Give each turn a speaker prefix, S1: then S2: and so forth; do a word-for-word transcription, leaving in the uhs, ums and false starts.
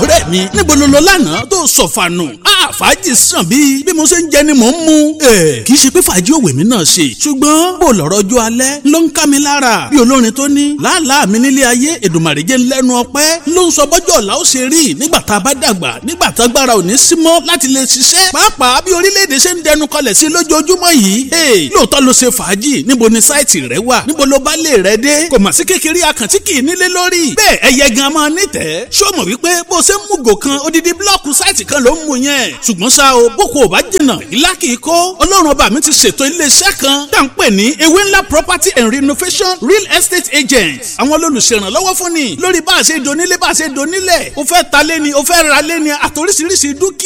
S1: Ọ̀rẹ́ mi, níbo ló lọ lánàá tó sọ̀fànù? Fàájì sàn bíi bí mo ṣe ń jẹ ni mò ń mu. Kì í ṣe pé fàájì òwe mi náà ṣe, ṣùgbọ́n bó lọ̀rọ̀ ọjọ́ alẹ́ ló ń ká mi lára. Bí olórin tó ní làálàá mi nílé ayé, Èdùmàrè jẹ́ lẹ́nu ọpẹ́ ló ń sọ bọ́jọ́ ọ̀la ó ṣe rí nígbà tá a bá dàgbà, nígbà tá agbára ò ní sí mọ́ láti lè ṣiṣẹ́. Pàápàá bí orílẹ̀-èdè ṣe ń dẹnu kọlẹ̀ sí lójoojúmọ́ yìí. Lóòótọ́ ló ṣe fàájì, níbo ni sáìtì rẹ wà, níbo ló bá lè rẹ dé? Kò mà sí kékeré akàntí kì í nílé lórí. Bẹ́ẹ̀ ẹyẹ gan máa nítẹ̀ẹ́. Ṣó mọ̀ wípé bó ṣe ń mú gò kan odidi blọ́ọ̀kù sáìtì kan ló ń mú yẹn? Ṣùgbọ́n ṣá o, boko ò bá jìnnà, ìlà kì í kó. Ọlọ́run ọba mi ti ṣètò iléeṣẹ́ kan tá à ń pè ní Ewé Ńlá Property and Renovation Real Estate Agent. Àwọn olùṣèrànlọ́wọ́ fún ni lórí bá a ṣe donílé, bá a ṣe donílẹ̀. O fẹ́ ta lé ni, o fẹ́ ra lé ni, àtòríṣiríṣi dúkìá.